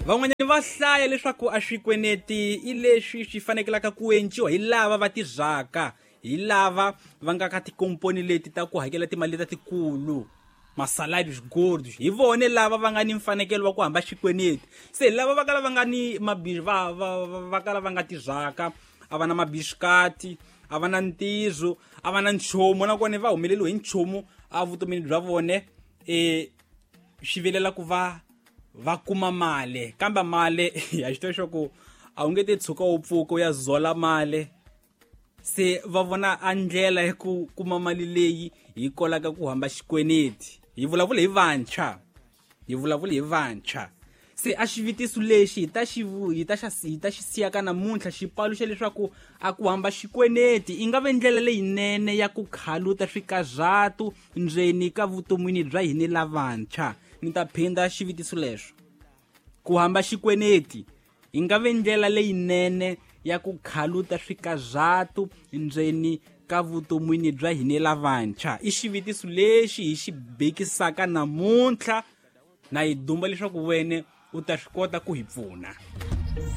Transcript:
Van'wanyana va hlaya leswaku a swikweneti i leswi swi fanekelaka ku enciwa hi lava va tirhaka, hi lava va nga ka tikomponi leti ta ku hakela timali leta tikulu, masalarios gordos, hi vone lava va nga ni mfanekelo wa ku hamba xikweneti. Se lava va kala va nga ni mabixi, va kala va nga tirhaka, a va na mabixikati, a va na ntirho, a va na nchumu, nakona va humeleriwe hi nchumu evutomini bya vone, swi vilela ku va va kuma mali. Kambe mali ya xi tiva xa ku a wu nge te tshuka u pfuka u ya zola mali. Se va vona a ndlela ya ku kuma mali leyi hi kolaka ku hamba xikweneti. Hi vulavula hi vantshwa, hi vulavula hi vantshwa. Se a xivutiso lexi hi ta xi vu-, hi ta xa si-, hi ta xi siya ka namuntlha, xi paluxa leswaku a ku hamba xikweneti i nga ve ndlela leyinene ya ku khaluta swikarhatu ndzeni ka vutomini bya hina lavantshwa. Ni ta phinda xivutiso lexo, ku hamba xikweneti i nga ve ndlela leyinene ya ku khaluta swikarhatu ndzeni ka vutomini bya hina lavantshwa. I xivutiso lexi hi xi bekisaka namuntlha, na hi dumba leswaku wena u ta swi kota ku hi pfuna.